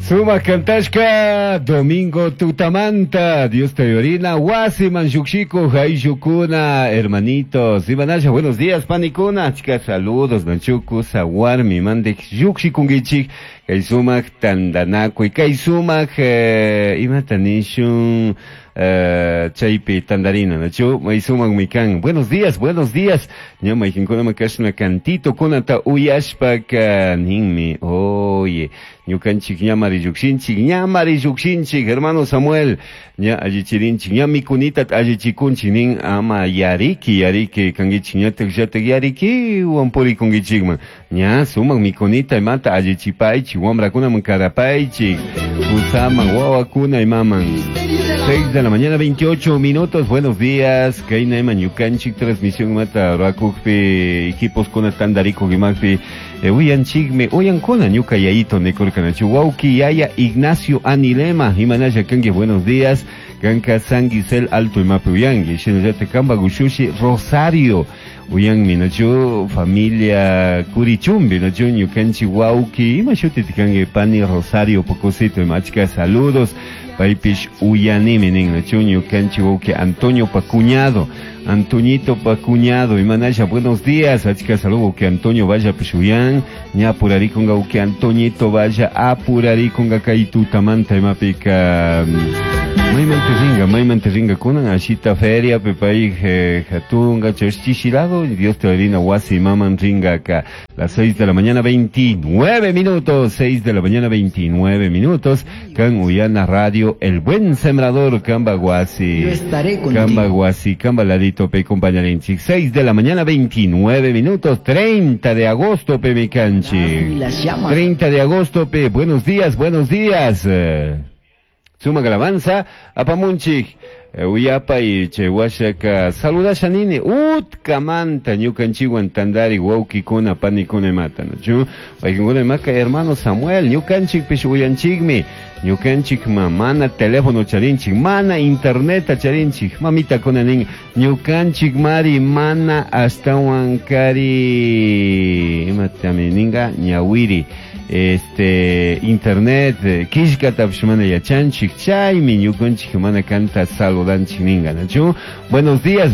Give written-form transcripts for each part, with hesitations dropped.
Sumak kantashka domingo tutamanta Dios te yorina wasiman llukshiku ayllukuna hermanitos. Imanasha buenos días panikuna. Achka saludos manchuku sawarmi mandik llukshikunkichik kay sumak tantanakuy kay sumak imata nishun chaypi tandarina nachu may sumakmi kan. Buenos días, buenos días. Ña mayqinkunama kashna cantito kunata uyashpaka ninmi. Oye, ñukanchik ñamari llukshinchik, ñamari llukshinchik, hermano Samuel. Ña allichirinchik, ña mikunita allichikunchik nin ama yariki, yariki kankichik ñatak llatak yariki wampurikunkichikman. Ña sumak mikunita imata allichipaychik, wamrakunaman karapaychik, kusaman wawakuna imaman. 6 de la mañana, 28 minutos. Buenos días. Kayna ima ñukanchik transmisión mata ruakukpi equipos kuna tandarikuk imakpi uyanchikmi uyankuna ñuka yayito nikurkanachu wawki yaya Ignacio Anilema imanalla kanki buenos días. Kanka San Gisel Alto imapi uyanki shinallatak kanpak ushushi Rosario uyanmi nachu familia Curichumbi nachu ñukanchik wawki ima shutit kanki pani Rosario pocosito ima achka saludos. Paypish uyanimi nin nachu ñukanchik wawki Antonio pa cuñado Antoñito pa cuñado imanalla buenos días. Achka saludo que Antonio vaya uyan ña apurarikunga wawki Antoñito vaya apurarikunga kay tutamanta imapika maymanta ringa maymanta ringa kunan ashita feria pay hatunga chashchishilado Dios te bendiga wasi maman ringa acá. Las 6 de la mañana 29 minutos, 6 de la mañana 29 minutos, kan Uyana Radio, El Buen Sembrador, Kamba Guasi. Yo estaré contigo. Kamba Guasi, Kamba Ladito, pe compañarinchik. 6 de la mañana 29 minutos, 30 de agosto, pe mi canchi. Las llamas. 30 de agosto, pe, buenos días, buenos días. Suma alabanza, apamunchik. Uyapa y chewashaka saludasha nini utkamanta ñukanchikwan tandari wawkikuna panikuna imata nachu paykuna imaka hermano Samuel ñukanchikpish uyanchikmi ñukanchik mana teléfono charinchik mana internet charinchik mamitakuna nin ñukanchik mari mana ashtawan kari imatami ninga ñawiri este internet killkatapish mana yachanchik chaymi ñukanchik mana kanta saludanchik ninga nachu buenos días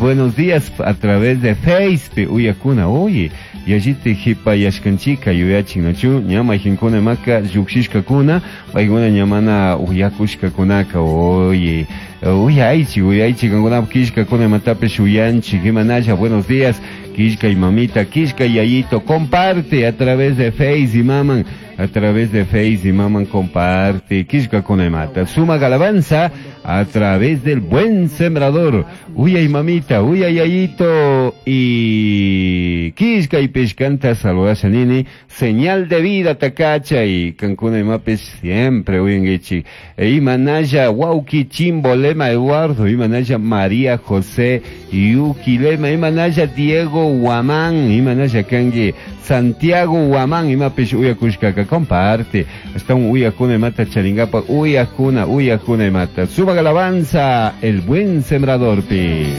a través de Facebook uyakuna oye yalliti hipayashkanchika yuyachin nachu ña mayqinkuna imaka llukshishkakuna paykuna ña mana uyakushkakunaka oye uyaychik uyaychik kankunapak killkakuna imatapish uyanchik imanalla buenos días killka y mamita killka y yayito comparte a través de Face y maman a través de Face y maman comparte killkakuna imata suma alabanza a través del Buen Sembrador. Uyay mamita, uyay yayito y killka y pishkanta saludasha nini señal de vida takacha y kankuna imapis siempre uyangichi e imanaya wauki chimbolema Eduardo imanaya María José Yuquilema imanaya Diego Guamán imanaya kangi Santiago Guamán imapish uyakushkaka comparte hasta un uyakuna imata charingapa uyakuna uyakuna imata suba alabanza el buen sembrador pi.